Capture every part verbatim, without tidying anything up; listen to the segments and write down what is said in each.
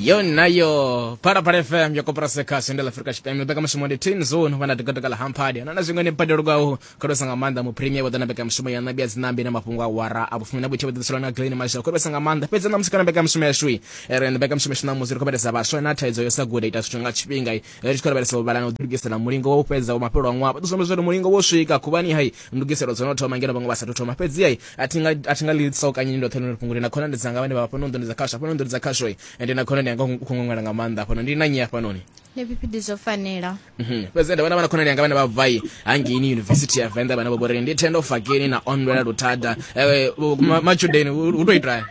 Yo nayo Phalaphala F M ya koporasi khasho ndi la Afrika Tshipembe. Mbekamishumo ndi Teen Zone vhana dikadika hamphadi na na zwiṅwe ni badelo kwaho kholosa nga maanḓa mu premier vha ḓo na mbekamishumo ya nabia dzinambi na mafhungo a wara a vhufumi na vhuthihi vha ḓiselwa na Glen Masha kholosa nga maanḓa. Fhedzi na musi kana mbekamishumo yashu ri mbekamishumo yashu na musi ri khou vhelesa vhaswa na thaidzo yo sa guda ita zwithu nga tshifhinga, ri tshi khou lavhelesa u vhala na u ḓilugisela mulingo wa u fhedza wa mafhelo a ṅwaha. Vha ḓo zwi amba mulingo wo swika khuvhani hai ndugiselo dzo no thoma ngeno vhaṅwe vha sathu thoma. Fhedzi hai a thi nga a thi nga ḽi saukanyini ndoṱhe ḽino fhungo na khonani dzanga vhane vha vha fhano nḓuni dza khasho, hafhano nḓuni dza khasho ende na khonani yanga u khou ṅwala nga maanḓa hafhano ndi na nnyi hafhanoni? Nṋe P P D zwo fanela. Mhm. Fhedzi nda vhona vhana khonani yanga vhane vha bvai hangeini University ya Venḓa vhane vha vhori ndi Thendo Fakeni na Onwela Luthada. eh, ma- matshudeni hu to itwa?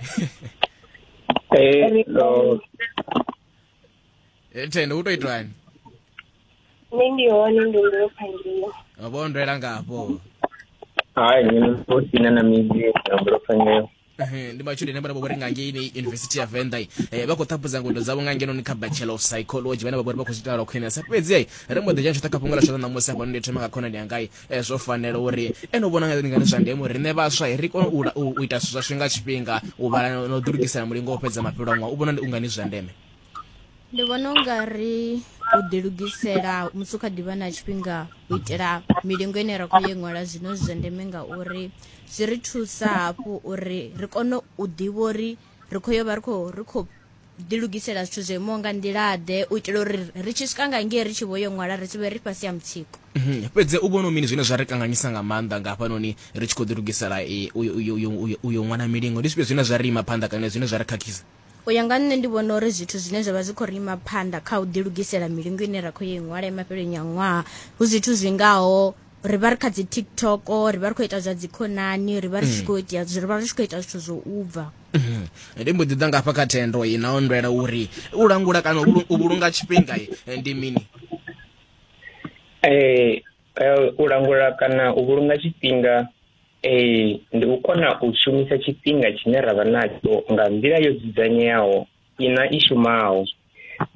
Eh, no. Eh, Thendo, hu to itwani? Nṋe ndi hone, ndi ndo phangiwa. Vho ndwela ngafho. Hai, nṋe ndo sina na midzi na mbulo. Ehe, ndi matshudeni vhane vha vhori nga ngeini University ya Venḓa eh, vha khou ṱhaphudza ngudo dzavho nga ngenoni kha Bachelor of Psychology, vhane vha vhori vha khou zwi ita lwa khwinesa. Fhedzi ai ri mbo ḓi dzhena tshoṱhe kha fhungo ḽa tshoṱhe ṋamusi hafhanoni. Ndi thoma nga khonani yangai eh, zwo fanela uri ene u vhona nga ngani zwa ndeme uri riṋe vhaswa ri kone u la- u u ita zwithu zwashu nga tshifhinga, u vhala na u ḓilugisela mulingo wo fhedza mafhelo a ṅwaha? U vhona ndi ungani zwi zwa ndeme? Ndi vhona unga ri u ḓilugisela musi u kha ḓivha na tshifhinga u itela milingo ine ra khou ye ṅwala zwino zwi zwa ndeme, ngauri zwi ri thusa hafhu uri ri kone u ḓivha uri ri khou yo vha ri khou ri khou ḓilugisela zwithu zwo imaho nga nḓila ḓe, u itela uri ri tshi swika nga ngei ri tshi vho yo ṅwala ri si vhe ri fhasi ha mutsiko. Mhm. Fhedzi u vhona mini zwine zwa ri kanganyisa nga maanḓa nga hafhanoni ri tshi khou ḓilugisela eh, uyo uyo uyo uyo uyo ṅwana milingo? Ndi zwifhio zwine zwa ri ima phanḓa kana zwine zwa ri khakhisa? U ya nga nṋe, ndi vhona uri zwithu zwine zwa vha zwi khou ri ima phanḓa kha u ḓilugisela milingo ine ra khou yo i ṅwala mafheloni a ṅwaha hu zwithu zwingaho ri vha ri kha dzi TikTok, ri vha ri khou ita zwa dzikhonani, ri vha ri tshi khou ita ri vha ri tshi khou ita zwithu zwo u bva. Mhm. Ndi mbo ḓi ḓa ngafha kha Thendo i na ndwela uri u langula kana u vhulu- u vhulunga tshifhinga eh, ndi mini? Eh, eh, u langula kana u vhulunga tshifhinga eh ndi u kona u shumisa tshifhinga tshine ra vha natsho nga nḓila yo dzudzanyeaho ina i shumaho.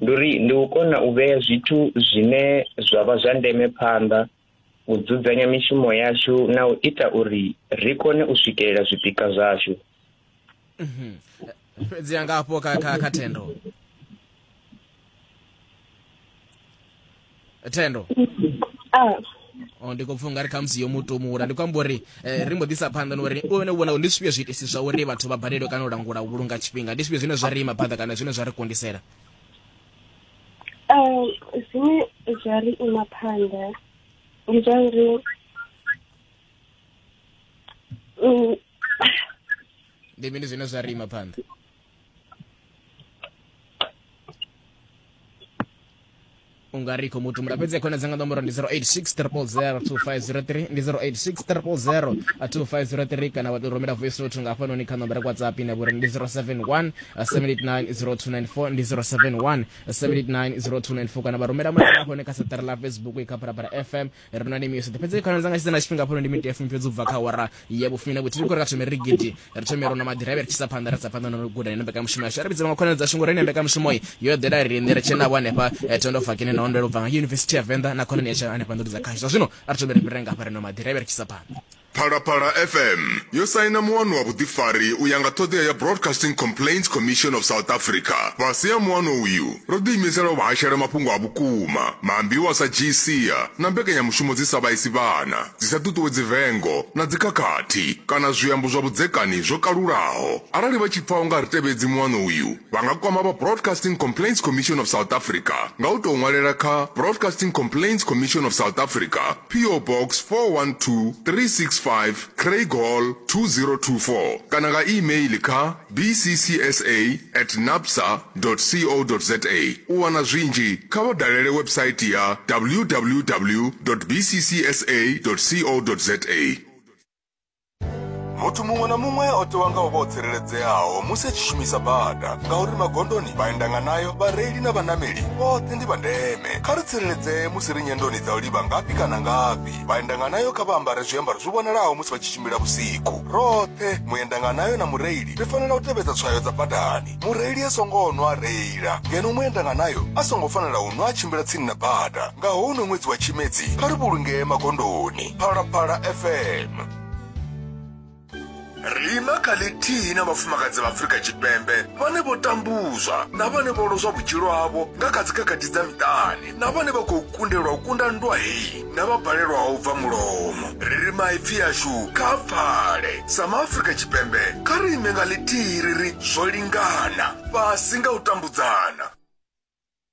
Ndi uri ndi u kona u vhea zwithu zwine zwa vha zwa ndeme phanḓa, u dzudzanya mishumo yashu na u ita uri ri kone u swikelela zwipikwa zwashu. Fhedzi nga hafho kha kha kha Thendo, Thendo. Ah. O ndi khou pfha ungari khamusi yo mutumula. Ndi khou amba uri eh, ri mbo ḓisa phanḓa na uri u vhone u vhona uri ndi zwifhio zwiitisi zwa uri vhathu vha balelwe kana u langula u vhulunga tshifhinga. Ndi zwifhio zwine zwa ri ima phanḓa kana zwine zwa ri kundisela? um zwine zwa ri ima phanḓa ndi zwa uri mm, Ndi mini zwine zwa ri ima phanḓa? Ungari khou mutumula. Fhedzi khona dzanga nomboro ndi zero eight six zero zero two five zero three, ndi zero eight six zero zero two five zero three, kana wa tou rumela voice note nga hafhanoni kha nomboro ya WhatsApp ine vhori ndi zero seven one seven eight nine zero two nine four, ndi zero seven one seven eight nine zero two nine four, kana vha rumela mulaedza hafhanoni kha saṱari ḽa Facebook i kha Phalaphala F M ri na music. Fhedzi khona dzanga tshi na tshifhinga hafhanoni ndi miniti ya fumi fhedzi ubva kha awara ya vhufumi na vhuthihi. Ndi khou ri kha thome ri gidi ri thome ro na maḓiraiva ri tshi isa phanḓa, ri sa phanḓa na u guda ino mbekanyamushumo yashu. Ri vhidze vhaṅwe khonani dzashu ngori ine mbekanyamushumo iyi yo ḓela riṋe ri tshena vho hanefha eh, Thendo Fakini na Ondwela u bva nga University ya Venḓa na khonani yashu hanefha nḓuni dza khashu. Zwa zwino a ri thome ri fhirele nga hafha ri no maḓiraiva ri tshi isa phanḓa. Phalaphala F M yo saina muano wa vhuḓifari u ya nga ṱhoḓea ya Broadcasting Complaints Commission of South Africa. Fhasi ha muano uyu, ro ḓiimisela u vha hashela mafhungo a vhukuma, maambiwa a sa dzhii sia na mbekanyamushumo dzi sa vhaisi vhana, dzi sa ṱuṱuwedzi vengo na dzikhakhathi kana zwiambo zwa vhudzekani zwo kalulaho. Arali vha tshi pfa u nga ri tevhedzi muano uyu, vha nga kwama vha Broadcasting Complaints Commission of South Africa nga u tou ṅwalela kha Broadcasting Complaints Commission of South Africa, P O Box four one two three six five, Craighall, two zero two four, kana nga email kha b c c s a at nabsa co za. U wana zwinzhi kha vha dalele website ya w w w b c c s a co za. Muthu muṅwe na muṅwe o tewa nga u vha o tsireledzeaho musi a tshi shumisa bada, ngauri magondoni vhaendanganayo, vhareili na vhanameli vhoṱhe ndi vha ndeme. Kha ri tsireledzee musi ri nyendoni dza u livha ngafhi kana ngafhi. Vhaendanganayo kha vha ambare zwiambaro zwi vhonalaho musi vha tshi tshimbila vhusiku. Roṱhe, muendanganayo na mureili, ri fanela u tevhedza tswayo dza badani. Mureili a songo nwa a reila, ngeno muendanganayo a songo fanela u nwa a tshimbila tsini na bada. Nga houno ṅwedzi wa Tshimedzi, kha ri vhulungee magondoni. Phalaphala F M, ri ima kha ḽithihi na vhafumakadzi vha Afrika Tshipembe vhane vho tambula. tambudzwa, na vhane vho lozwa vhutshilo havho nga kha dzikhakhathi dza miṱani, na vhane vha khou kundelwa u kunda nndwa heyi, na vha balelwaho u bva mulomo. Ri ri maipfi ashu kha pfale. Sa maAfrika Tshipembe, kha ri ime nga ḽithihi ri ri zwo lingana, fhasi nga u tambudzana.